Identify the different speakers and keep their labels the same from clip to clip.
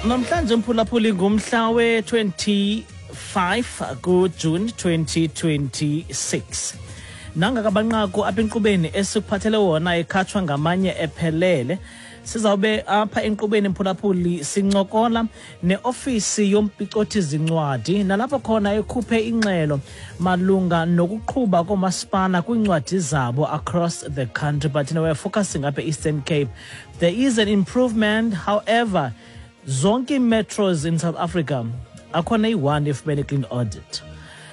Speaker 1: Namhlanje, mphulaphuli, ngumhla we-25 kuJune 2026. Nangakabanqaku apha enkqubeni esikuphathele wona ekhatshwa ngamanye ephelele. Sizawube apha enkqubeni, mphulaphuli, sincokola neofisi yomphicothi zincwadi, nalapho khona ekhuphe ingxelo malunga nokuqhuba koomasipala kwiincwadi zabo across the country, but we're focusing apha e-Eastern Cape. There is an improvement, however, zonke ii-metros in South Africa akhona iyi-one efumene clean audit.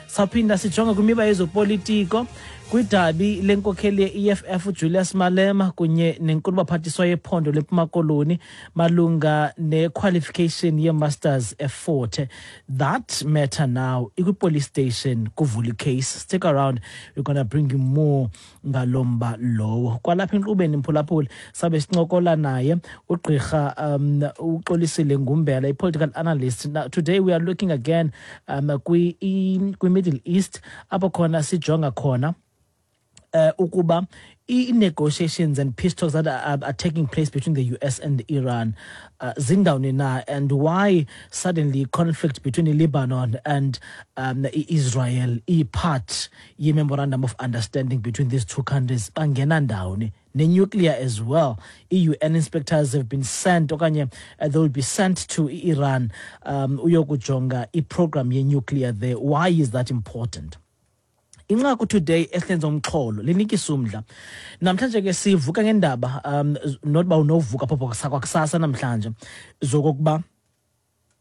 Speaker 1: Sawuphinda sijonge kwimiba yezopolitiko, kwidabi lenkokheli ye-EFF uJulius Malema kunye nenkulubaphathiswa yephondo leMpuma Koloni malunga ne-qualification ye-masters eFort Hare. That matter now ikwi-police station, kuvula icase. Stick around, we're gonna bring you more ngalo mba lowo. Kwalapha enkqubeni, mphulaphuli, sabe sincokola naye ugqirha uXolisile Ngumbela, i-political analyst. Now, today we are looking again kwi-Middle East, apho khona sijonga khona ukuba i-negotiations and peace talks that are taking place between the US and Iran zindawoni na, and why suddenly conflict between Lebanon and Israel i-part ye-memorandum of understanding between these two countries, bangena ndawoni, ne-nuclear as well. I-UN inspectors have been sent, okanye they will be sent to Iran uyokujonga i-program ye-nuclear there. Why is that important? Inqaku today esihlenza umxholo linikisa umdla. Namhlanje ke sivuka ngendaba, not uba unovuka phopho kwakusasa namhlanje, zokokuba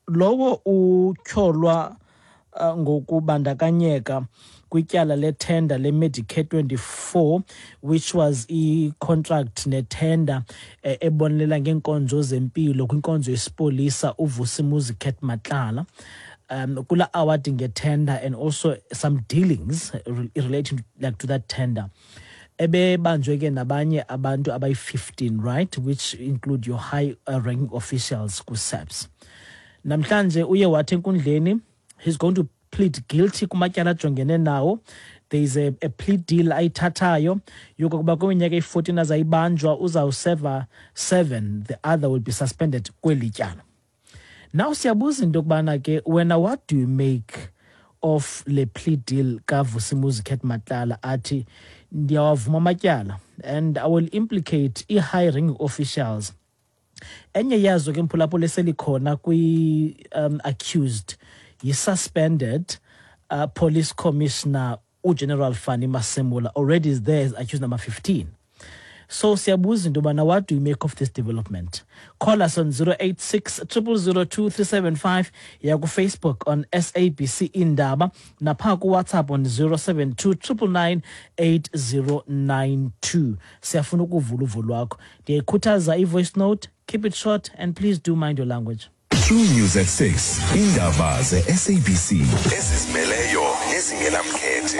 Speaker 1: lowo utyholwa ngokubandakanyeka kwityala lethenda le-Medicare 24, which was i-contract nethenda ebonelela ngeenkonzo zempilo kwinkonzo yesipolisa, uVusimuzi Cat Matlala, kula awarding ngetender and also some dealings relating like to that tender, ebebanjwe ke nabanye abantu abayi-15, right, which include your high ranking officials ku-SAPS. Namhlanje uye wathi enkundleni he's going to plead guilty kumatyala ajongene nawo. There is a plea deal ayithathayo yokokuba kwiminyaka eyi-14 azayibanjwa uzawuseva 7, the other will be suspended kweli tyala. Now siyabuza into yokubana ke wena, what do you make of le plea deal kaVusimuzi Cat Matlala, athi ndiyawavuma amatyala and I will implicate i-high ranking officials? Enye yazo ke, mphulaphula, eselikhona kwi-accused yi-suspended police commissioner uGeneral Fannie Masemola, already is there as accused number 15. So siyabuza into yobana, what do you make of this development? Call us on 086 0002375, yakuFacebook on SABC Indaba, napha kuWhatsApp on 072 999 8092. Siyafuna ukuvula uvo lwakho. Ndiyayikhuthaza i-voice note. Keep it short and please do mind your language.
Speaker 2: True News at 6, indaba ze-SABC ezizimeleyo nezingenamkhethe.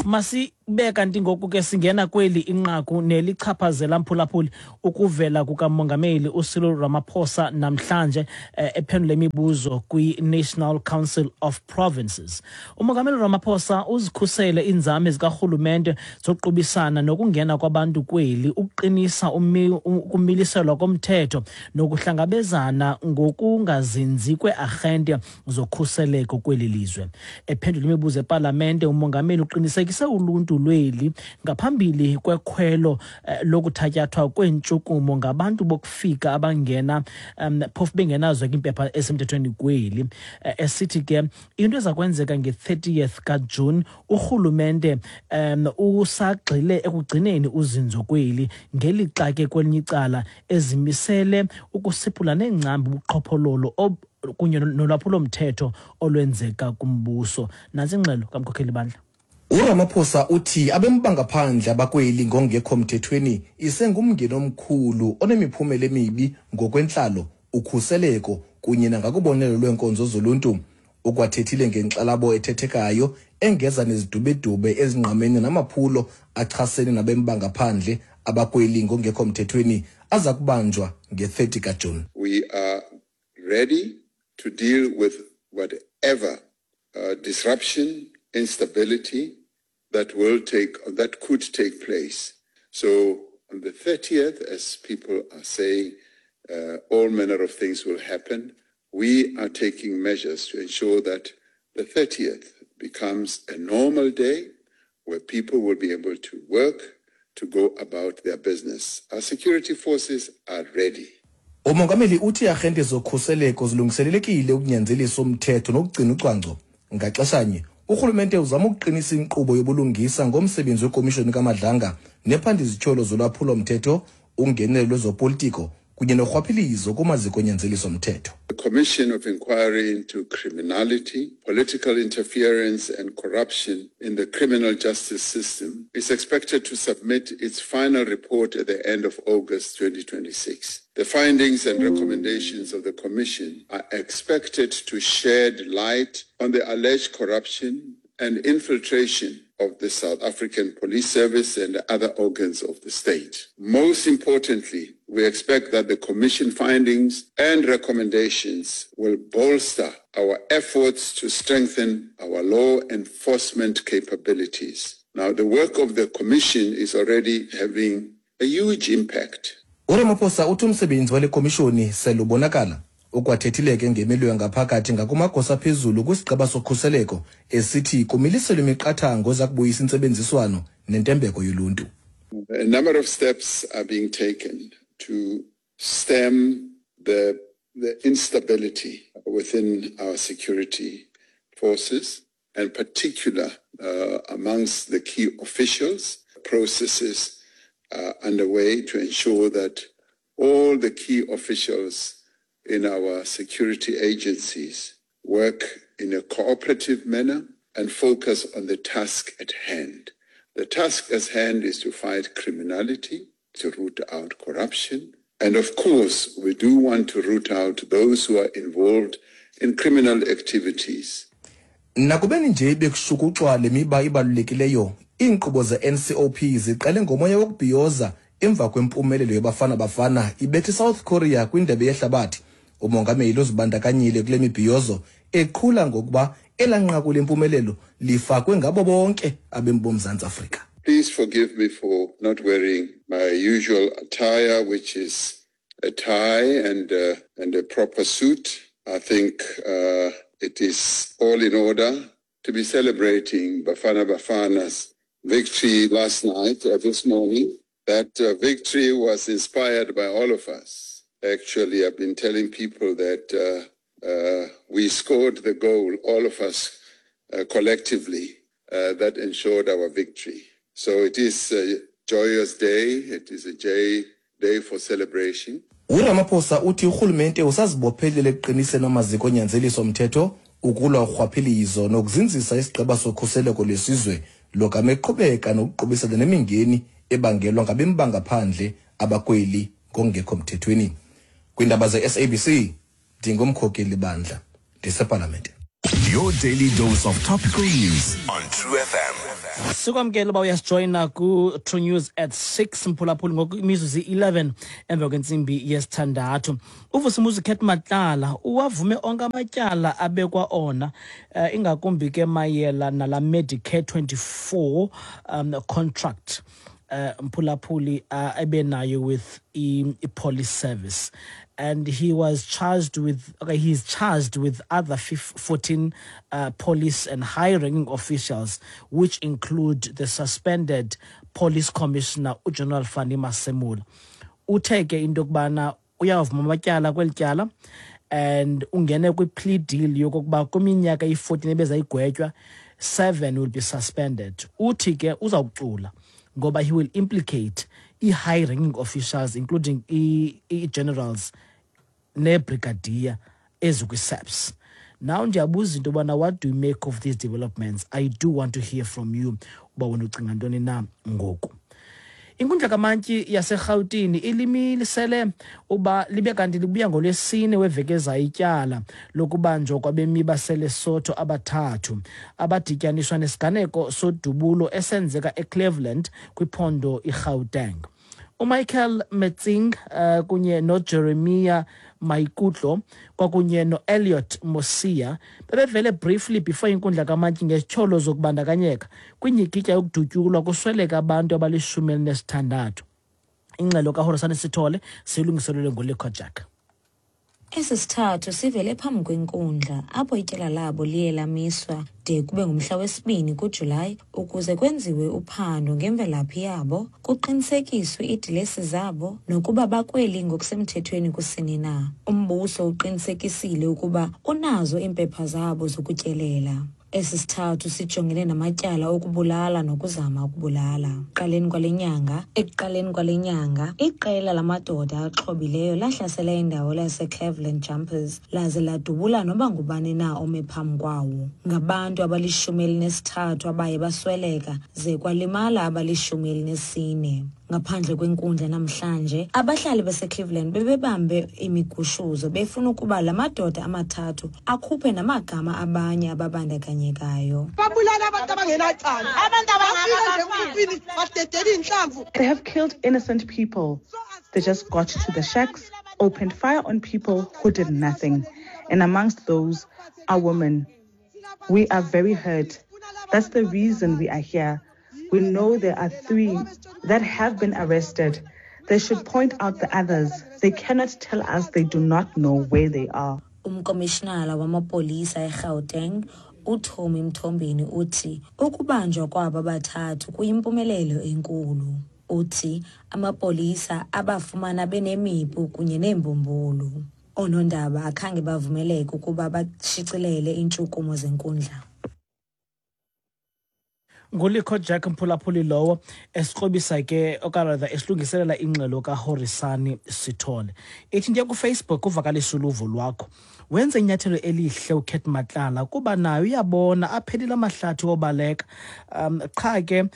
Speaker 1: Masibe kanti ngoku ke singena kweli inqaku nelichaphazela, mphulaphuli, ukuvela kukamongameli uCyril Ramaphosa namhlanje ephendula imibuzo kwi-National Council of Provinces. Umongameli Ramaphosa uzikhusele iinzame zikarhulumente zokuqubisana nokungena kwabantu kweli, ukuqinisa ukumiliselwa komthetho nokuhlangabezana ngokungazinzi kweearhente zokhuseleko kweli lizwe. Ephendula imibuzo epalamente, umongameli uqinisekise uluntu lweli ngaphambili kwekhwelo lokuthatyathwa kweentshukumo ngabantu bokufika abangena phofu bengenazo ke iimpepha esemthethweni kweli, esithi ke into eza kwenzeka nge-30th kaJuni, urhulumente usagxile ekugcineni uzinzo kweli, ngelixa ke kwelinye icala ezimisele ukusiphula neengcambu ubuqhophololo kunye nolwaphulomthetho olwenzeka kumbuso. Nantsi ingxelo kamkhokheli bandla.
Speaker 3: URamaphosa uthi abemi bangaphandle abakweli ngongekho mthethweni isengumngeni omkhulu onemiphumela emibi ngokwentlalo, ukhuseleko kunye nangakubonelelo lweenkonzo zoluntu. Ukwathethile ngenkxalabo ethethekayo engeza nezidubedube ezingqamene namaphulo achasene nabemi bangaphandle abakweli ngongekho mthethweni aza kubanjwa nge-30 kaJuni.
Speaker 4: We are ready to deal with whatever disruption, instability that could take place. So on the 30th, as people are saying, All manner of things will happen. We are taking measures to ensure that the 30th becomes a normal day where people will be able to work, to go about their business. Our security forces are ready.
Speaker 3: Umongameli uthi iiarhente zokhuseleko zilungiselelekile ukunyanzelisa umthetho nokugcina ucwangco. Ngaxeshanye, urhulumente uzama ukuqinisa inkqubo yobulungisa ngomsebenzi wekomishoni kaMadlanga nephanda izityholo zolwaphulo-mthetho, ungenelo lwezopolitiko kunye norhwaphilizo kumaziko onyanzeliso-mthetho.
Speaker 4: The Commission of Inquiry into Criminality, Political Interference and Corruption in the Criminal Justice System is expected to submit its final report at the end of August 2026. The findings and recommendations of the Commission are expected to shed light on the alleged corruption and infiltration of the South African Police Service and other organs of the state. Most importantly, we expect that the Commission findings and recommendations will bolster our efforts to strengthen our law enforcement capabilities. Now, the work of the Commission is already having a huge impact.
Speaker 3: URamaphosa uthi umsebenzi wale komishoni selubonakala. Ukwathethile ke ngemilo yangaphakathi ngakumagosa aphezulu kwisigqeba sokhuseleko esithi kumiliselwe imiqathango eza kubuyisa intsebenziswano nentembeko yoluntu.
Speaker 4: A number of steps are being taken to stem the instability within our security forces, and particular amongst the key officials. Processes are underway to ensure that all the key officials in our security agencies work in a cooperative manner and focus on the task at hand. The task at hand is to fight criminality, to root out corruption. And of course, we do want to root out those who are involved in criminal activities.
Speaker 3: Nakubeni nje bekushukuxwa le miba ibalulekileyo, iinkqubo ze-NCOP ziqale ngomoya wokubhiyoza emva kwempumelelo yeBafana Bafana ibetha iSouth Korea kwindebe yehlabathi. Umongameli uzibandakanyile kule mibhiyozo eqhula ngokuba elaa nqaku lempumelelo lifakwe ngabo bonke abemi boMzantsi Afrika.
Speaker 4: Please forgive me for not wearing my usual attire, which is a tie and a proper suit. I think it is all in order to be celebrating Bafana Bafana's victory last night, this morning. That victory was inspired by all of us. Actually, I've been telling people that we scored the goal, all of us collectively, that ensured our victory. So it is a joyous day. It is a day for celebration.
Speaker 3: URamaphosa uthi urhulumente usazibophelele ekuqiniseni amaziko onyanzeliso mthetho, ukulwa urhwaphilizo nokuzinzisa isigqeba sokhuseleko lwesizwe logama eqhubeka nokuqubisana nemingeni ebangelwa ngabemi bangaphandle abakweli ngokungekho mthethweni. Kwiindaba ze-SABC, ndingumkhokeli bandla ndisepalamente.
Speaker 2: Your daily dose of topical news on True FM.
Speaker 1: Sikwamkela uba uyasijoyina ku-True News at 6, mphulaphuli. Ngoku imizuzu i-11 emva kwentsimbi yesithandathu. UVusimuzi Cat Matlala uwavume onke amatyala abekwa ona, ingakumbi ke mayela nala Medicare 24 contract, mphulaphuli, ebenayo with i-police service, and he was charged with okay he's charged with other 14 police and high-ranking officials, which include the suspended police commissioner, uGeneral Fannie Masemola. Uthe ke into yokubana uyavuma amatyala kweli tyala and ungene kwi-plea deal yokokuba kwiminyaka iyi-14 ebezayigwetywa, 7 will be suspended. Uthi ke uzawucula ngoba he will implicate i-high ranking officials, including i-generals nebrigadier ezikwi-SAPS. Now ndiyabuza into yobana, what do you make of these developments? I do want to hear from you uba wena ucinga ntoni na. Ngoku inkundla kamantyi yaseRhawutini ilimilisele uba libe kanti libuya ngoLwesine weveki ezayo ityala lokubanjwa kwabemi baseLesotho abathathu abadityaniswa nesiganeko sodubulo esenzeka eCleveland kwiphondo iGauteng. UMichael Metsing kunye noJeremiah Maikutlo kwakunye noElliot Mosia bebevele briefly before inkundla kamantyi ngezityholo zokubandakanyeka kwinyikitya yokudutyulwa kusweleka abantu abalishumi elinesithandathu. Ingxelo kaHorisane Sithole siyilungiselelwe nguLikho Jack.
Speaker 5: Esi sithathu sivele phambi kwenkundla apho ityala labo liye lamiswa de kube ngumhla wesibini kuJulayi ukuze kwenziwe uphando ngemvelaphi yabo, kuqinisekiswe iidilesi zabo nokuba bakweli ngokusemthethweni kusini na. Umbuso uqinisekisile ukuba unazo iimpepha zabo zokutyelela. Esi sithathu sijongene namatyala okubulala nokuzama ukubulala. Ekuqaleni kwale nyanga, ekuqaleni kwale nyanga, iqela lamadoda axhobileyo lahlasela indawo laseCleveland Jumpers laze ladubula noba ngubani na ome phambi kwawo. Ngabantu abali-13 abaye basweleka ze kwalimala abali-14. Ngaphandle kwenkundla namhlanje, abahlali baseCleveland bebebambe imigushuzo befuna ukuba la madoda amathathu akhuphe namagama abanye ababandakanyekayo.
Speaker 6: Babulala abantu abangenacala.
Speaker 7: Abantu
Speaker 6: Bafika nje emkhukhwini badedela iy'nhlamvu.
Speaker 8: They have killed innocent people. They just got to the shacks, opened fire on people who did nothing. And amongst those are women. We are very hurt. That's the reason we are here. We know there are three that have been arrested. They should point out the others. They cannot tell us they do not know where they are.
Speaker 5: Umkomishinala wamapolisa eGauteng uTommy Mthombeni uthi ukubanjwa kwabo bathathu kuyimpumelelo enkulu. Uthi amapolisa abafumana benemipu kunye neembumbulu. Oonondaba akhange bavumeleke ukuba bashicilele iintshukumo zenkundla.
Speaker 1: Ngulikho Jack Mphulaphuli lowo esikrobisa ke okanye esilungiselela ingxelo kaHorisani Sithole. Ithi ndiya kuFacebook uvakalisa uluvo lwakho. Wenze inyathelo elihle uCat Matlala kuba naye uyabona aphelile amahlathi wobaleka. Qha ke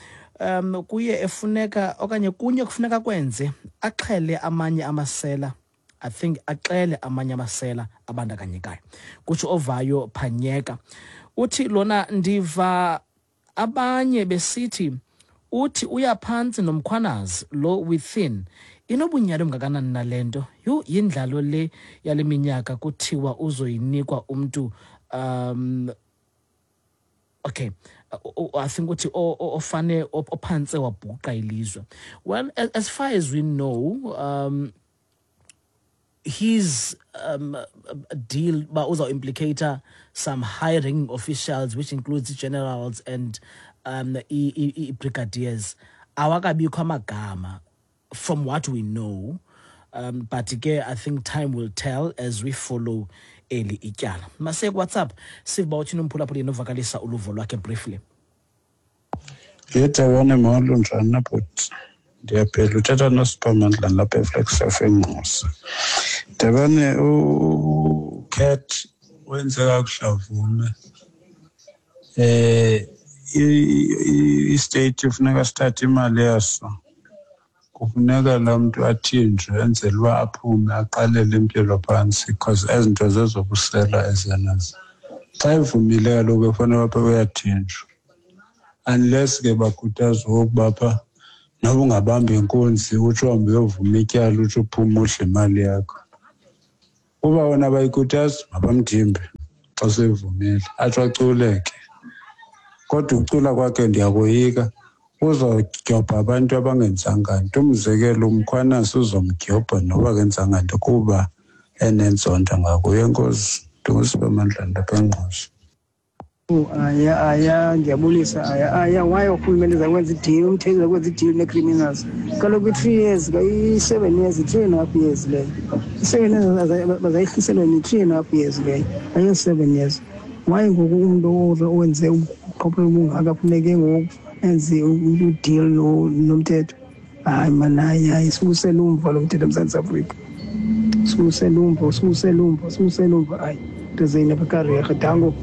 Speaker 1: kuye efuneka okanye kunye kufuneka kwenze axhele amanye amasela. I think axele amanye amasela abandakanyekayo. Kutsho ovayo Phanyeka. Uthi lona ndiva abanye besithi uthi uyaphantsi noMkhwanazi lo within inobunyali obungakanani nale nto. Yhu, yindlalo le yale minyaka kuthiwa uzoyinikwa umntu. Okay, I think uthi ofane ophantse wabhuqa ilizwe. Well, as far as we know, his deal ba uzawu-implicate some high-ranking officials, which includes generals and i-brigadiers, awakabikho amagama from what we know. But ke I think time will tell as we follow eli ityala. Masiye kuWhatsApp sive uba uthini umphulaphuli novakalisa uluvo lwakhe briefly.
Speaker 9: Yedabane, molo, njani na bhuti? Ndiyaphila, uthetha noSiphamandla lapha eFlagstaff eNgqusa. Dabane, uCat wenze kakuhle avume. I-state funeka sithathe imali yaso. Kufuneka laa mntu athinjwe enzele uba aphume aqalele impilo phantsi because ezi nto zezobusela ezenazo. Xa evumile kaloku efanele apha uyathinjwa. Unless ke bakhuthazwa okokuba pha noba ungabamba inkunzi utsho uhambe uyovuma ityala utsho uphume udle imali yakho. Uba wona abayikhuthazi mabamthimbe xa seyivumile atsho aculeke. Kodwa ukucula kwakhe ndiyakoyika uzodyobha abantu abangenzanga nto. Umzekelo uMkhwanazi uzomdyobha noba akenzanga nto kuba enenzonda ngakuye. Enkosi, ndinguSiphamandla lapha eNgqusa.
Speaker 10: Aya, aya, ndiyabulisa. Aya, aya, why urhulumente zakwenza i-deal, umthetho zakwenza i-deal nee-criminals? Kaloku i-3 years, i-7 years, i-3.5 years leyo. I-7 years bazayihliselwa ni-3.5 years leyo, ayo-7 years. Why ngoku umntu owenze ubuqhophololo obungaka funeke ngoku enze u-deal nomthetho? Hayi mani, hayi, hayi, siwusele umva lo mthetho eMzantsi Afrika. Siwusele umva, siwusele umva, siwusele umva. Hayi, nto zeyini apha karerhe, danko.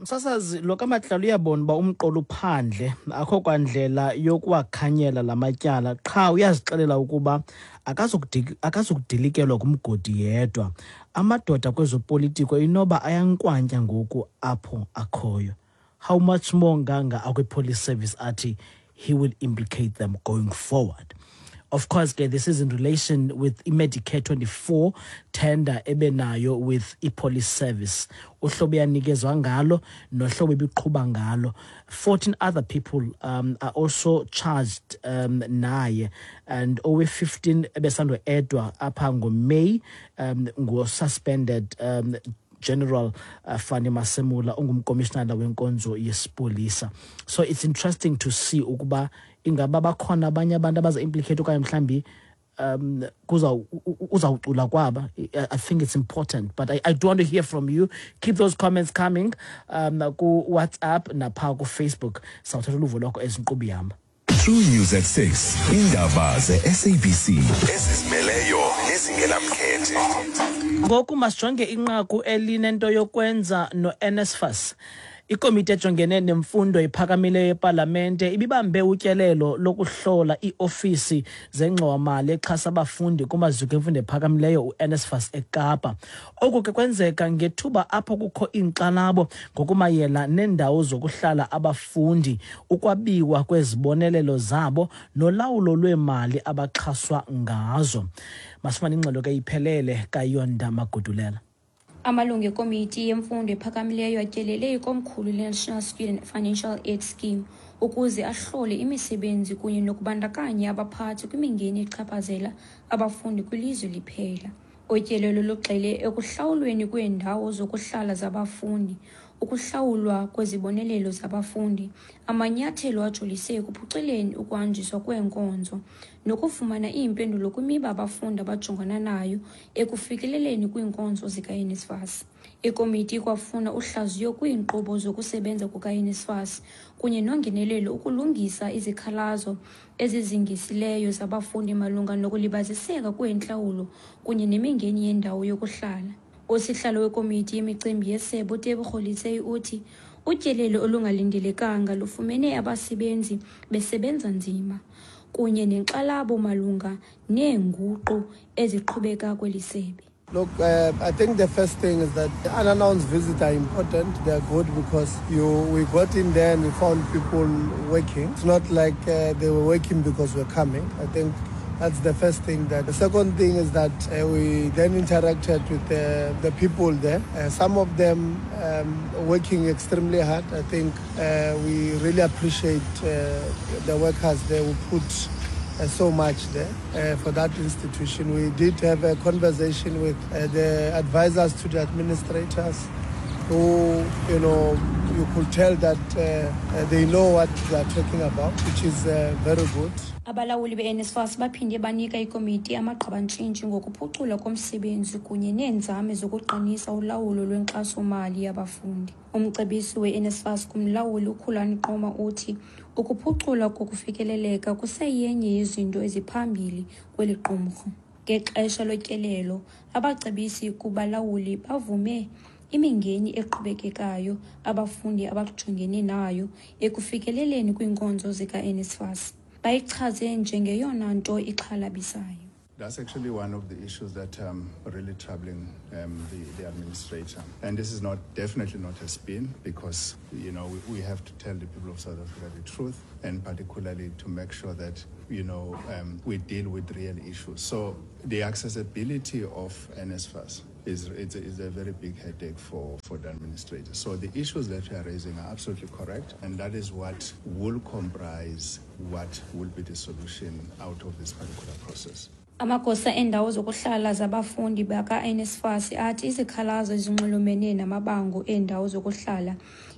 Speaker 1: Msasazi, lo kaMatlala uyabona uba umqolo uphandle, akho kwandlela yokuwakhanyela la matyala, qha uyazixelela ukuba akazukudilikelwa ngumgodi yedwa. Amadoda kwezopolitiko inoba ayankwantya ngoku apho akhoyo. How much more nganga akwi-police service athi he will implicate them going forward. Of course ke, this is in relation with iMedicare 24 tender ebenayo with iPolice Service, uhlobo yanikezwa ngalo nohlobo ebiqhuba ngalo. 14 other people are also charged naye, and owe-15 ebesando-edwa apha ngoMay ngo-suspended General Fani Masemula, ungumkomishinala wenkonzo yesipolisa. So it's interesting to see ukuba ingaba bakhona abanye abantu abaza-implicate okanye mhlambi kuza uzawucula kwaba. I think it's important, but I do want to hear from you. Keep those comments coming ku-WhatsApp napha kuFacebook. Sawuthatha uluvo lwakho ezinkqubo ihamba.
Speaker 2: True News at 6, indaba ze-SABC ezizimeleyo nezingenamkhethe.
Speaker 1: Ngoku masijonge inqaku elinento yokwenza no-NSFAS. Ikomiti ejongene nemfundo ephakamileyo yepalamente ibibambe utyelelo lokuhlola iiofisi zengxowamali exhasa abafundi kumaziko emfundo ephakamileyo uNSFAS eKapa. Oku ke kwenzeka ngethuba apho kukho iinkxalabo ngokumayela neendawo zokuhlala abafundi, ukwabiwa kwezibonelelo zabo nolawulo lweemali abaxhaswa ngazo. Masifumane ingxelo ke iphelele kaYonda Magudulela.
Speaker 7: Amalungu ekomiti yemfundo ephakamileyo atyelele ikomkhulu le-National Student Financial Aid Scheme ukuze ahlole imisebenzi kunye nokubandakanya abaphathi kwimingeni echaphazela abafundi kwilizwe liphela. Utyelelo lugxile ekuhlawulweni kweendawo zokuhlala zabafundi, ukuhlawulwa kwezibonelelo zabafundi, amanyathelo ajolise ekuphuculeni ukuhanjiswa kweenkonzo nokufumana iimpendulo kwimiba abafundi abajongana nayo ekufikeleleni kwiinkonzo zika-NSFAS. Ikomiti ikwafuna uhlaziyo kwiinkqubo zokusebenza kuka-NSFAS kunye nongenelelo ukulungisa izikhalazo ezizingisileyo zabafundi malunga nokulibaziseka kweentlawulo kunye nemingeni yendawo yokuhlala. Usihlalo wekomiti yemicimbi yesebe uTebogo Letsie uthi utyelelo olungalindelekanga lufumene abasebenzi besebenza nzima kunye nenkxalabo malunga neenguqu eziqhubeka kweli sebe.
Speaker 11: Look, I think the first thing is that unannounced visits are important. They are good because we got in there and we found people working. It's not like they were working because we're coming. I think that's the first thing. That the second thing is that we then interacted with the people there. Some of them working extremely hard. I think we really appreciate the workers there who put so much there for that institution. We did have a conversation with the advisors to the administrators who, you could tell that they know what they are talking about, which is very good.
Speaker 7: Abalawuli be-NSFAS baphinde banika ikomiti amagqabantshintshi ngokuphuculwa komsebenzi kunye neenzame zokuqinisa ulawulo lwenkxasomali yabafundi. Umcebisi we-NSFAS kumlawuli uKhulani Qoma uthi ukuphuculwa kokufikeleleka kuseyenye yezinto eziphambili kweli qumrhu. Ngexesha lotyelelo, abacebisi kubalawuli bavume imingeni eqhubekekayo abafundi abajongene nayo ekufikeleleni kwiinkonzo zika-NSFAS. Bayichaze njengeyona nto ixhalabisayo.
Speaker 4: That's actually one of the issues that really troubling the administrator. And this is not definitely not a spin, because we have to tell the people of South Africa the truth, and particularly to make sure that we deal with real issues. So the accessibility of NSFAS is a very big headache for the administrator. So the issues that we are raising are absolutely correct, and that is what will comprise what will be the solution out of this particular process.
Speaker 7: Amagosa eendawo zokuhlala zabafundi baka-NSFAS athi izikhalazo ezinxulumene namabango eendawo zokuhlala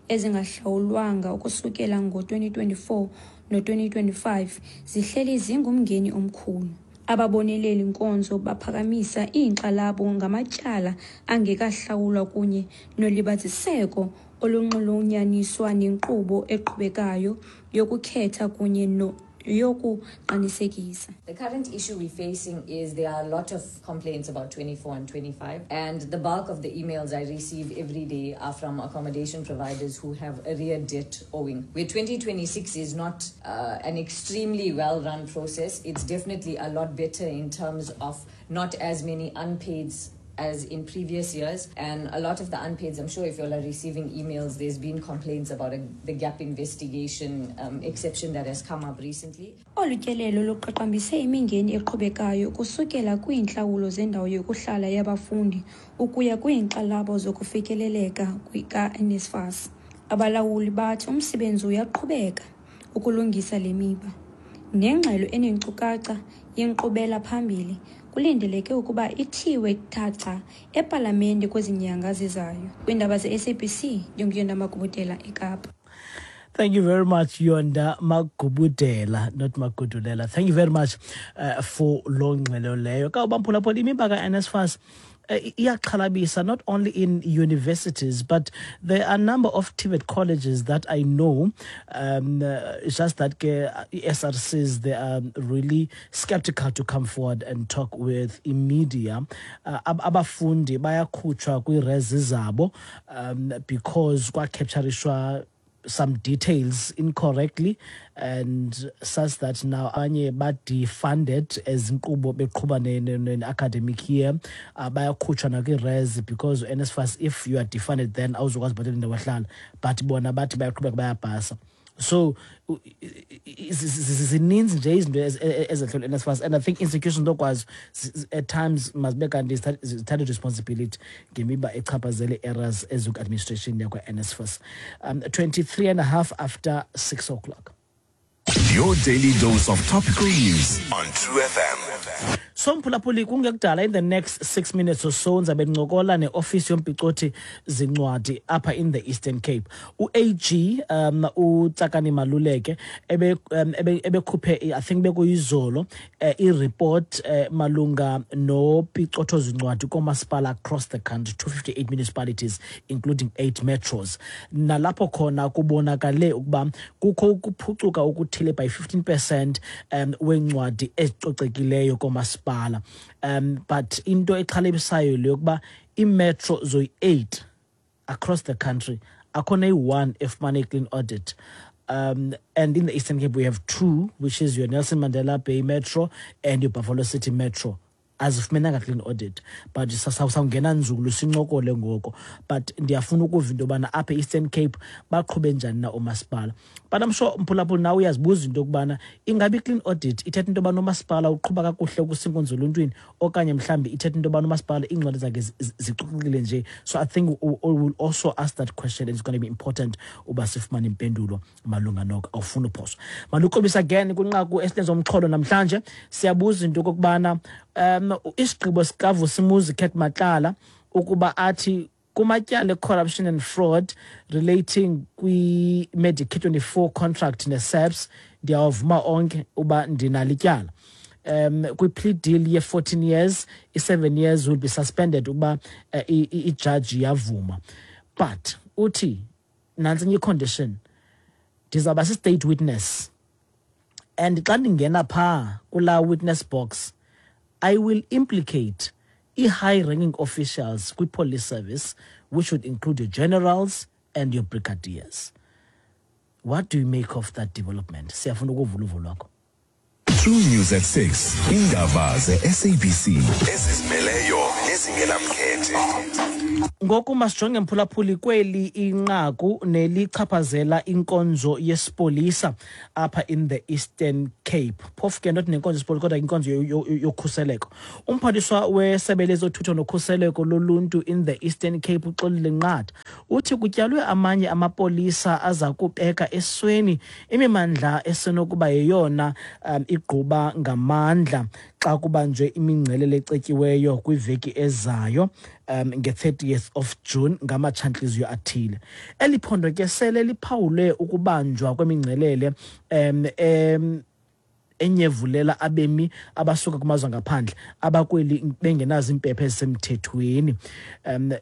Speaker 7: ezingahlawulwanga ukusukela ngo-2024 no-2025 zihleli zingumngeni omkhulu. Ababoneleli nkonzo baphakamisa iinkxalabo ngamatyala angekahlawulwa kunye nolibaziseko olunxulunyaniswa nenkqubo eqhubekayo yokukhetha kunye yokuqinisekisa.
Speaker 12: The current issue we're facing is there are a lot of complaints about 24 and 25, and the bulk of the emails I receive every day are from accommodation providers who have arrear debt owing. Where 2026 is not an extremely well-run process, it's definitely a lot better in terms of not as many unpaid as in previous years. And a lot of the unpaids, I'm sure if you all are receiving emails, there's been complaints about a, the gap investigation um, exception that has come up recently.
Speaker 7: Olu tyelelo luqaqambise imingeni eqhubekayo ukusukela kwiintlawulo zendawo yokuhlala yabafundi ukuya kwiinkxalabo zokufikeleleka ka-NSFAS. Abalawuli bathi umsebenzi uyaqhubeka ukulungisa le miba. Nengxelo eneenkcukacha yenkqubela phambili kulindeleke ukuba ithiwe thaca epalamente kwezi nyanga zizayo. Kwiindaba ze-SABC, ndinguYonda Magubudela eKapa.
Speaker 1: Thank you very much, Yonda Magubudela, not Magudulela. Thank you very much uh, for loo ngxelo leyo. Ka ubamphulaphula imiba ka-NSFAS eh, iyaxhalabisa not only in universities but there are a number of TVET colleges that I know um, uh, it's just that ke SRCs they are really skeptical to come forward and talk with media uh, abafundi bayakhutshwa kwii-rezi zabo um, because kwacapturishwa some details incorrectly and such that now abanye ba-defunded as inkqubo beqhuba ne-academic year uh, bayakhutshwa nakwi-res because uNSFAS if you are defunded then awuzokwazi ubhatala indawo ehlala but bona bathi bayaqhubeka bayabhasa so zininzi nje izinto ezehlelwe NSFAS and I think institutions lokwazi at times mazibe kanti zithathe responsibility ngemiba echaphazele errors ezikwi-administration yakwa-NSFAS um 23 and a half after 6 o'clock
Speaker 2: Your daily dose of topical news on True FM.
Speaker 1: So mphulaphuli kungekudala in the next 6 minutes or so ndizabe ndincokola neofisi yompicothi zincwadi apha in the Eastern Cape. U-AG um uTsakani Maluleke ebe um, ebekhuphe I think bekuyizolo uh, i-report uh, malunga nopicotho zincwadi koomasipala across the country 258 municipalities including 8 metros nalapho khona kubonakale ukuba kukho ukuphucuka okuthile by 15 percent um weencwadi ezicocekileyo koomasipala um but into exhalabisayo le yokuba iimetro zoyi-8 across the country akho neyi-one efumane i-clean audit um, and in the Eastern Cape, we have two, which is your Nelson Mandela Bay Metro and your Buffalo City Metro. Azifumenanga clean audit but sawungena nzulu sincokole ngoko but ndiyafuna ukuva into yobana apha e-Eastern Cape baqhube njani na oomasipala but I'm sure mphulaphula nawe uyazibuza into yokubana ingabi i-clean audit ithetha into yobana umasipala uqhuba kakuhle kusinkonzo oluntwini okanye mhlawumbi ithetha into yobana umasipala iincwadi zakhe zicocekile nje so I think we will also ask that question and it's going to be important uba sifumane impendulo malunga noko awufuni uphoswa malukrobisa again kwinqaku esilenza umxholo namhlanje siyabuza into yokokubana um isigqibo sikavusimuzi cat matlala ukuba athi kumatyala e-corruption and fraud relating kwi-medicare 24 contract ne-saps ndiyawavuma onke uba ndinalo ityala um kwi-plea deal ye-14 years i-7 years will be suspended ukuba uh, ijaji yavuma but uthi nantsi enye icondition ndizawuba si-state witness and xa ndingena phaa kulaa witness box i will implicate i-high ranking officials kwi-police service which would include your generals and your brigadiers what do you make of that development siyafuna ukuva uluvo lwakho
Speaker 2: True News at 6. Indaba ze-SABC ezizimeleyo nezingenamkhethe.
Speaker 1: Ngoku masijonge mphulaphuli kweli inqaku nelichaphazela inkonzo yesipolisa apha in the Eastern Cape. Phofu ke not nenkonzo yesipolisa kodwa inkonzo yokhuseleko. Umphathiswa wesebe lezothutho nokhuseleko loluntu in the Eastern Cape uXolile Nqatha uthi kutyalwe amanye amapolisa aza kubeka esweni imimandla esenokuba yeyona um, igquba ngamandla xa kubanjwe imingcelele ecetyiweyo kwiveki ezayo um, nge-30th of June ngamatshantliziyo athile. Eli phondo ke sele liphawule ukubanjwa kwemingcelele um, um, enyevulela abemi abasuka kumazwe angaphandle abakweli bengenazo iimpepha ezisemthethweni um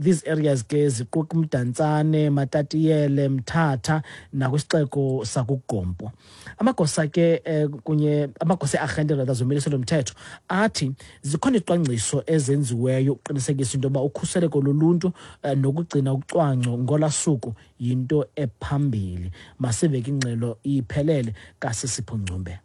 Speaker 1: these areas ke ziquka umdantsane matatiyele mthatha nakwisixeko sakugompo amagosa ke eh, kunye amagosa earhente rather zomiliso lomthetho athi zikhona izicwangciso ezenziweyo ukuqinisekisa into yoba ukhuseleko loluntu eh, nokugcina ucwangco ngola suku yinto ephambili masiveke ingxelo iphelele kasisipho ngcumbe.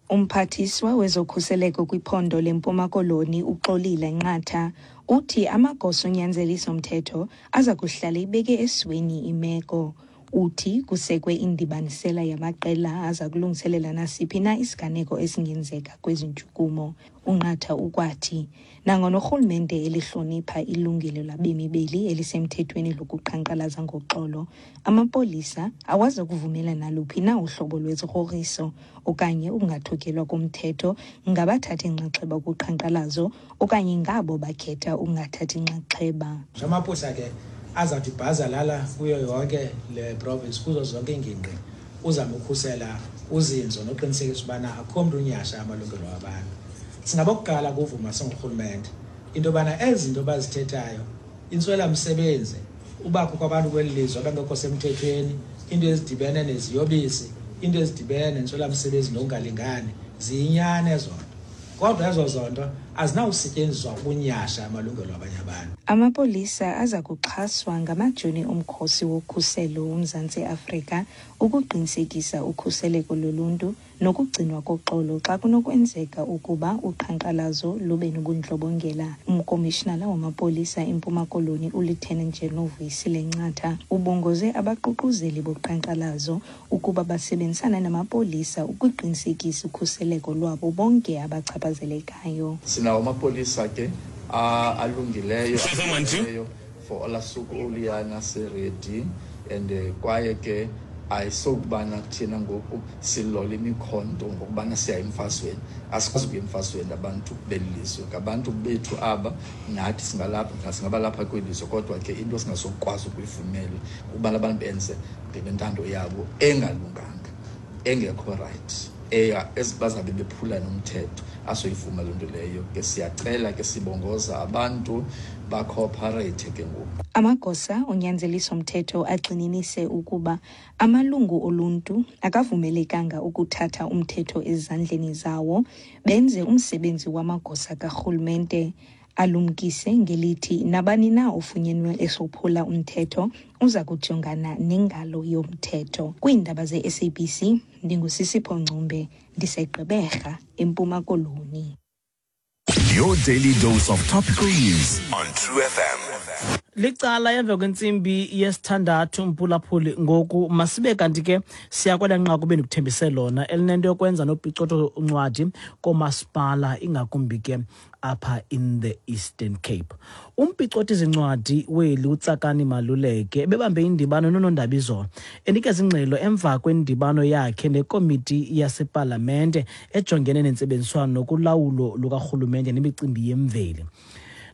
Speaker 5: Umphathiswa wezokhuseleko kwiphondo leMpuma Koloni uXolile Nqatha uthi amagosa onyanzeliso-mthetho aza kuhlala ibeke esweni imeko. Uthi kusekwe indibanisela yamaqela aza kulungiselela nasiphi na isiganeko esingenzeka kwezi ntshukumo. UNqatha ukwathi nangona urhulumente elihlonipha ilungelo labemi beli elisemthethweni lokuqhankqalaza ngoxolo, amapolisa awazi kuvumela naluphi na uhlobo lwezigrogriso okanye ukungathotyelwa komthetho ngabathathi nxaxheba kuqhankqalazo okanye ngabo bakhetha ukungathathi nxaxheba.
Speaker 13: Amapolisa ke azawuthi bhazalala kuyo yonke le province, kuzo zonke iingingqi, uzama ukhusela uzinzo noqinisekisa ubana akukho mntu unyhasha amalungelo wabantu. Singabokuqala kuvuma singurhulumente into yobana ezi zinto bazithethayo, intswelamsebenzi, ubakho kwabantu kweli lizwe abangekho semthethweni, into ezidibene neziyobisi, into ezidibene nentswelamsebenzi nokungalingani, ziyinyani ezo nto, kodwa ezo zonto azinawusetyenziswa ukunyhasha amalungelo abanye abantu.
Speaker 5: Amapolisa aza kuxhaswa ngamajoni omkhosi wokhuselo woMzantsi Afrika ukuqinisekisa ukhuseleko loluntu nokugcinwa koxolo xa kunokwenzeka ukuba uqhankqalazo lube nobundlobongela. Umkomishinala wamapolisa eMpuma Koloni uLieutenant General Vuyisile Ncatha ubongoze abaququzeli boqhankqalazo ukuba basebenzisane namapolisa ukuqinisekisa ukhuseleko lwabo bonke abachaphazelekayo.
Speaker 14: Sinawo amapolisa ke alungileyo for olaa suku oluyana, si-ready and kwaye ke ayisokubana thina ngoku silola imikhonto ngokubana siya emfazweni. Asikwazi ukuya emfazweni abantu beli lizwe, ngabantu bethu aba, nathi singalapha, singaba lapha kweli lizwe, kodwa ke into singasokwazi ukuyivumela ukubana abantu benze ngentando yabo engalunganga, engekho right, eya bazabe bephula nomthetho. Asoyivuma loo nto leyo ke. Siyacela ke, sibongoza abantu ba-cooperate ke ngoku.
Speaker 5: Amagosa onyanzeliso-mthetho agxininise ukuba amalungu oluntu akavumelekanga ukuthatha umthetho ezandleni zawo benze umsebenzi wamagosa karhulumente. Alumkise ngelithi nabani na ofunyenwe esophula umthetho uza kujongana nengalo yomthetho. Kwiindaba ze-SABC, ndinguSisipho Ngcumbe, ndiseGqeberha, eMpuma Koloni.
Speaker 2: Your daily dose of topical news on True FM.
Speaker 1: Licala emva kwentsimbi yesithandathu, mphulaphuli. Ngoku masibe kanti ke siya kwela nqaku bendikuthembise lona elinento yokwenza nopicotho uncwadi koomasipala, ingakumbi ke apha in the Eastern Cape. Umpicoti zincwadi weli uTsakani Maluleke ebebambe indibano noonondaba izolo, enikeza ingxelo emva kwendibano yakhe nekomiti yasepalamente ejongene nentsebenziswano nokulawulo lukarhulumente nemicimbi yemveli,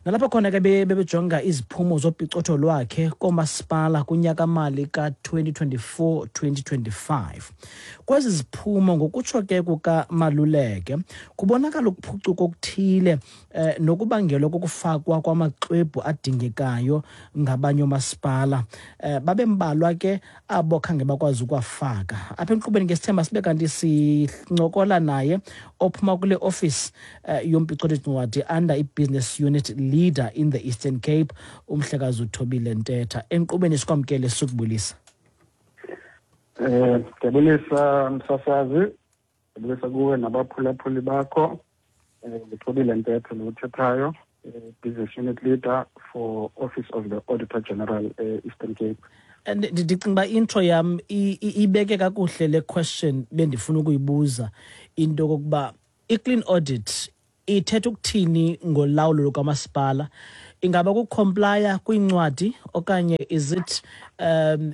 Speaker 1: nalapho khona ke bebejonga iziphumo zopicotho lwakhe koomasipala kunyakamali ka-2024 2025. Kwezi ziphumo, ngokutsho ke kukaMaluleke, kubonakala ukuphucuka okuthile nokubangelwa kokufakwa kwamaxwebhu adingekayo ngabanye oomasipala. Babe mbalwa ke abo khange bakwazi ukuwafaka. Apha enkqubeni ke sithemba sibe kanti sincokola naye ophuma kule office yompicotho ncwadi under i-business unit leader in the Eastern Cape, umhlekazi uThobile Ntetha. Enkqubeni sikwamkele, sukubulisa.
Speaker 15: Ndiyabulisa msasazi, ndiyabulisa kuwe nabaphulaphuli bakho. NguThobile Ntetha lo uthethayo, business unit leader for Office of the Auditor General e-Eastern Cape.
Speaker 1: And ndicinga uba intro yam ibeke kakuhle le question bendifuna ukuyibuza, into yokokuba i-clean audit ithetha ukuthini ngolawulo lukamasipala. Ingaba ku-complya kwiincwadi okanye is it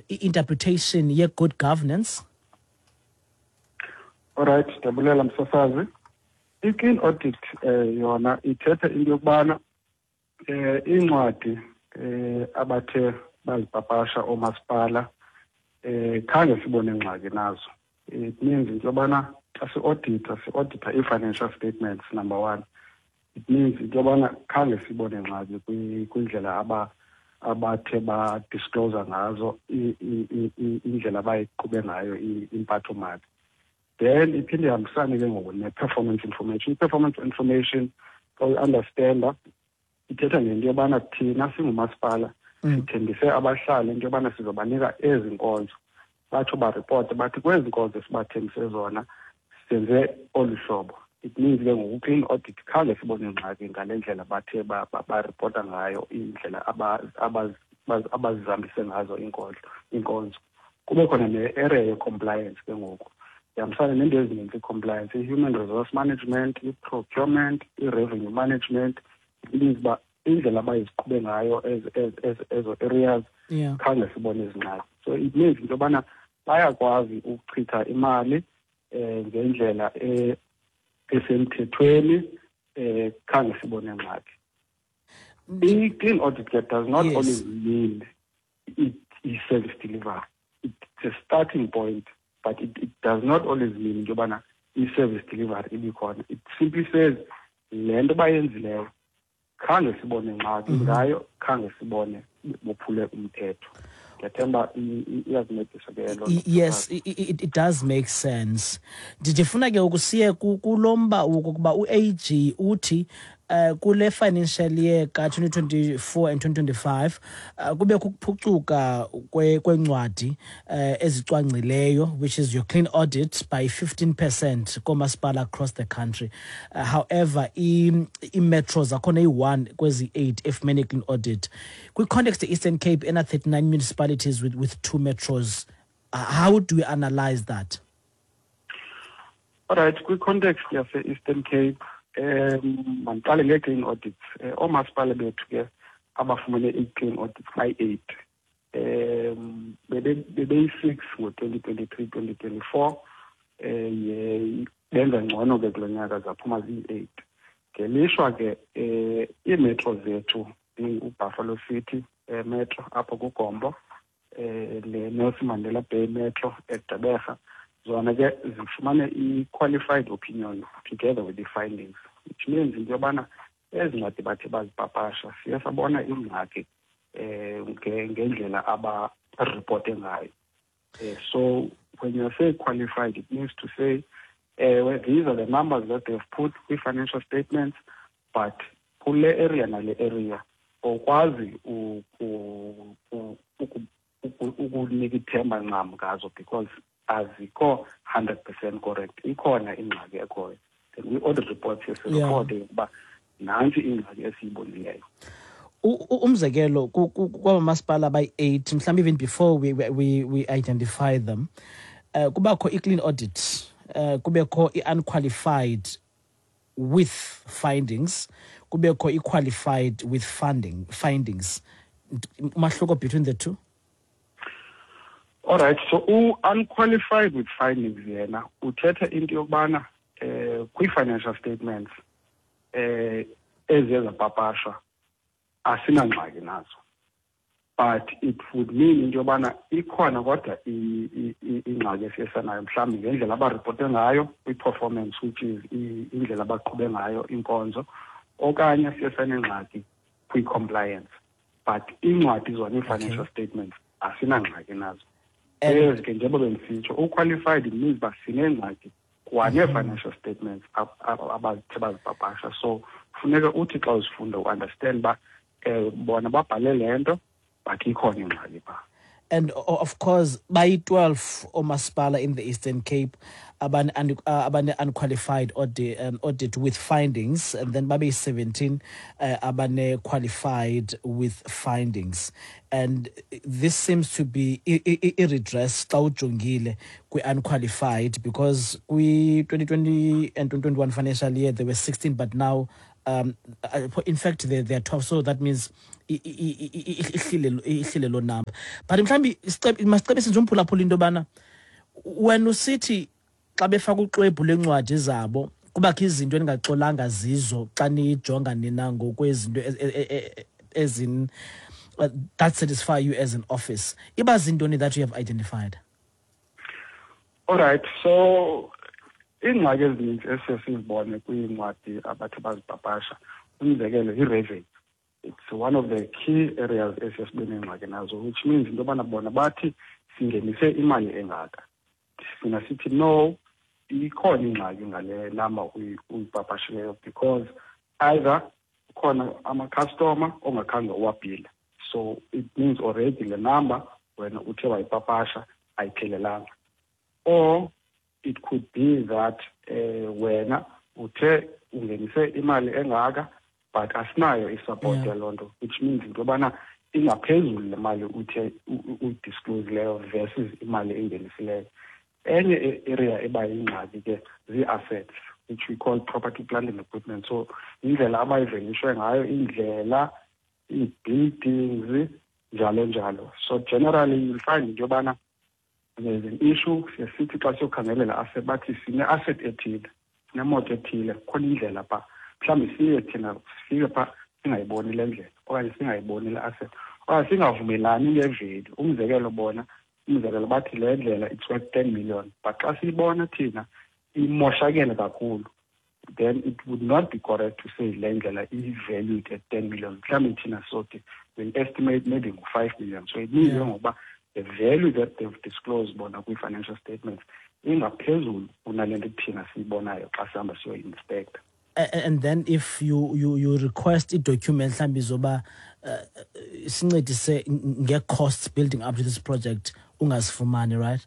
Speaker 1: i-interpretation ye-good governance?
Speaker 15: Alright, ndiyabulela msasazi. I-clean audit yona ithetha into yokubana iincwadi abathe bazipapasha oomasipala khange sibone ngxaki nazo. It means into yobana xa si-audita, si-audita ii-financial statements number one. It means into yobana khange sibone ngxaki kwindlela abathe ba-disclose ngazo indlela abayiqhube ngayo impathomali. Then iphinde ihambisane ke ngoku ne-performance information. I-performance information, xa uyi-understanda, ithetha ngento yobana thina singumasipala sithembise abahlali into yobana sizobanika ezi nkonzo, batsho baripote bathi kwezi nkonzo sibathembise zona. Senze olu hlobo. It means ke ngoku clean audit khange sibone ngxaki ngale ndlela bathe baripota ngayo, indlela abazihambise ngazo iinkonzo. Kube khona ne-area ye-compliance ke ngoku, ihambisana neento ezininzi i-compliance, i-human resource management, i-procurement, i-revenue management. It means uba indlela abayiziqhube ngayo ezo areas khange sibone izingxaki. So it means into yobana bayakwazi ukuchitha imali ngendlela esemthethweni, khange sibone ngxaki. I-clean audit ke does not only mean i-service delivery. It's a starting point, but it does not always mean into yobana i-service delivery ibikhona. It simply says le nto bayenzileyo khange sibone ngxaki ngayo, khange sibone bophule umthetho. Ndiyathemba iyakuncedisa ke loo nto.
Speaker 1: Yes, it does make sense. Ndifuna ke ukusiye kulo mba wokokuba u-AG uthi kule financial year ka-2024 and 2025 kube kukuphucuka kwencwadi ezicwangcileyo, which is your clean audit, by 15% koomasipala across the country. However, i-metros akhona iyi-1 kwezi-8 efumene clean audit. Kwi-context ye-Eastern Cape ena-39 municipalities with 2 metros, how do we analyze that?
Speaker 15: All right, kwi-context yase-Eastern Cape, mandiqale ngee-clean audits. Oomasipala bethu ke abafumene i-clean audits bayi-8. Bebeyi-6 ngo-2023, 2024. Benza ngcono ke kulo nyaka, zaphuma ziyi-8. Ngelishwa ke iimetro zethu, uBuffalo City Metro apho kuGombo, le Nelson Mandela Bay Metro eGqeberha, zona ke zifumane i-qualified opinion together with the findings, which means into yobana ezi ncwadi bathe bazipapasha siye sabona ingxaki ngendlela abaripote ngayo. So when you say qualified, it means to say well, these are the numbers that they've put kwi-financial statements, but kule area nale area awukwazi ukunika ithemba ncam ngazo because azikho 100% correct, ikhona ingxaki ekhoyo. Then kwi-audit report siye siripote ukuba nantsi ingxaki esiyibonileyo.
Speaker 1: Umzekelo kwaba masipala bayi-8, mhlawumbi even before we identify them, kubakho i-clean audit, kubekho i-unqualified with findings, kubekho i-qualified with findings. Umahluko between the two?
Speaker 15: All right, so u-unqualified with findings yena uthetha into yokubana kwi-financial statements eziye zapapashwa asinangxaki nazo, but it would mean into yobana ikhona kodwa ingxaki esiyesanayo mhlawumbi ngendlela abaripote ngayo kwi-performance, which is indlela abaqhube ngayo inkonzo, okanye siyesanengxaki kwi-compliance. But iincwadi zona, ii-financial statements, asinangxaki nazo. Ezi ke, njengoba bendisitsho, u-qualified means uba sinengxaki kwanee-financial statements abazithe bazipapasha. So funeka uthi xa uzifunda u-understand uba bona babhale le nto, but ikhona ingxaki phaa.
Speaker 1: And of course bayi-12 oomasipala in the Eastern Cape abane-unqualified audit with findings, and then babeyi-17 abane-qualified with findings. And this seems to be i-redress xa ujongile kwi-unqualified, because kwi-2020 and 2021 financial year there were 16, but now in fact they are 12, so that means ihlile loo number. But mhlawumbi masicebise nje umphulaphula into yobana wena usithi xa befaka uxwebhu lwencwadi zabo kubakho izinto eningaxolanga zizo xa niyijonga nina ngokwezinto ezin that satisfy you as an office, iba zintoni that you have identified?
Speaker 15: All right, so iingxaki ezininzi esiye sizibone kwiincwadi abathi bazipapasha, umzekelo yi-revenue. It's one of the key areas esiye sibe neengxaki nazo, which means into yobana bona bathi singenise imali engaka, sina sithi no, ikhona ingxaki ngale number uyipapashileyo, because either kukhona amakhastoma ongakhange uwabhile, so it means already le number wena uthe wayipapasha ayiphelelanga, or It could be that wena uthe ungenise imali engaka, but asinayo i-support yaloo nto, which means into yobana ingaphezulu le mali uthe uyidisclose leyo versus imali engenisileyo. Enye i-area eba yingxaki ke zii-assets, which we call property, plant and equipment. So indlela abayivelishwe ngayo, indlela, ii-buildings, njalo njalo. So generally you'll find into yobana there's an issue. Siye sithi xa siyokhangelela asset, bathi sine-asset ethile, sinemoto ethile, kukhona indlela phaa. Mhlawumbi siye thina sifike phaa singayiboni le ndlela okanye singayiboni le asset okanye singavumelani nge-value. Umzekelo, bona, umzekelo, bathi le ndlela it's worth 10 million, but xa siyibona thina imoshakele kakhulu, then it would not be correct to say le ndlela i-valued at 10 million. Mhlawumbi thina sothi we'll estimate maybe ngu-5 million. So it means ke ngokuba the value that they've disclosed bona kwi-financial statements ingaphezulu kunale nto thina siyibonayo xa sihamba siyoyi-inspecta.
Speaker 1: And then if you request i-document mhlawumbi zoba sincedise nge-costs building up to this project, ungazifumani, right?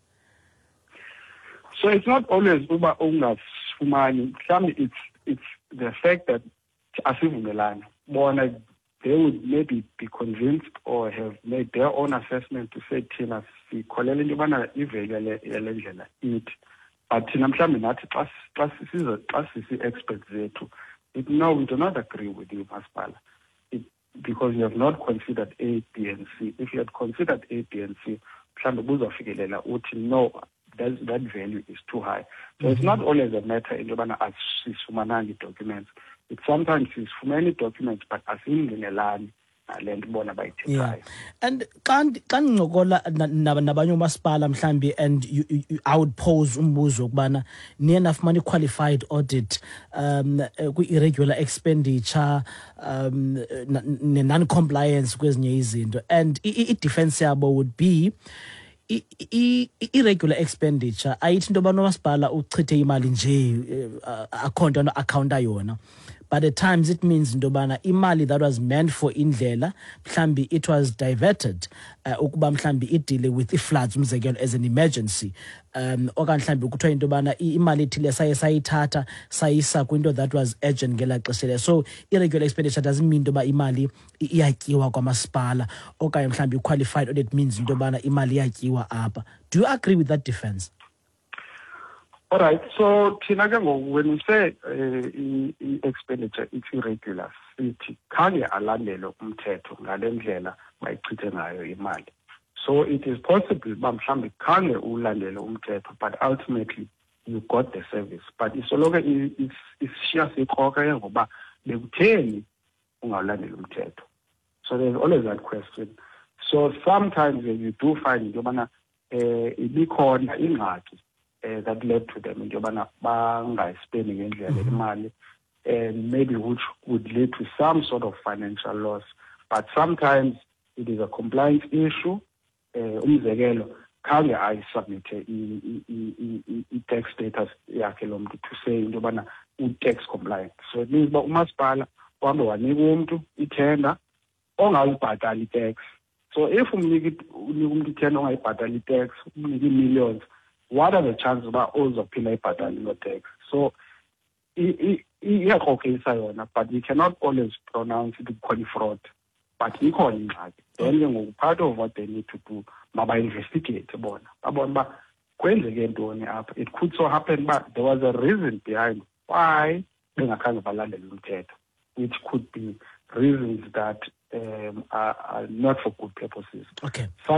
Speaker 15: So it's not always uba ungasifumani. Mhlawumbi it's the fact that asivumelani. Bona, they would maybe be convinced or have made their own assessment to say thina sikholela into yobana i-value yale ndlela ithi, but thina mhlawumbi nathi xa sisiza, xa sisi-experts zethu, it, no, we do not agree with you, masipala, because you have not considered A, B and C. If you had considered A, B and C, mhlawumbi buzawufikelela uthi no, that value is too high. So it's not always a matter into yobana asisifumananga ii-documents. It's sometimes sisifumene ii-documents, but asingqinelani nale nto bona bayithethayo.
Speaker 1: And xa ndincokola nabanye oomasipala mhlambi, and I would pose umbuzo wokubana niye nafumana i-qualified audit kwi-irregular expenditure, ne-non-compliance kwezinye izinto, and i-defense yabo would be irregular expenditure ayithi into yobana umasipala uchithe imali nje, akho nto ano-accounta yona, but at times it means into yobana imali that was meant for indlela mhlambi it was diverted ukuba mhlambi i-deale with i-floods, umzekelo, as an emergency, okanye mhlambi kuthiwa into yobana imali ethile saye sayithatha sayisa kwinto that was urgent ngelaa xesha leyo. So irregular expenditure doesn't mean into yoba imali iyatyiwa kwamasipala, okanye mhlambi i-qualified audit means into yobana imali iyatyiwa apha. Do you agree with that defense?
Speaker 15: All right, so thina ke ngoku, when we say i-expenditure it's irregular, sithi khange alandele umthetho ngale ndlela bayichithe ngayo imali. So it is possible uba mhlawumbi khange ulandele umthetho, but ultimately you got the service. But isoloko isishiya sikrokra ke ngoba bekutheni ungawulandeli umthetho. So there's always that question. So sometimes you do find into yobana ibikhona ingxaki that led to them into yobana bangayispendi ngendlela imali, and maybe which would lead to some sort of financial loss. But sometimes it is a compliance issue. Umzekelo, khange ayisubmithe i-tax status yakhe lo mntu to say into yobana u-tax compliant. So it means uba umasipala uhambe wanika umntu ithenda ongazibhatali i-tax. So if unika umntu ithenda ongayibhatali i-tax, umnika ii-millions, what are the chances uba uzophinda ayibhatale loo tax? So iyakrokrisa yona, but we cannot always pronounce it kukhona i-fraud, but ikhona ingxaki. Then ke ngoku part of what they need to do, mabainvestigate bona, babone uba kwenzeke ntoni apha. It could so happen uba there was a reason behind why bengakhange balandele umthetho, which could be reasons that are not for good purposes.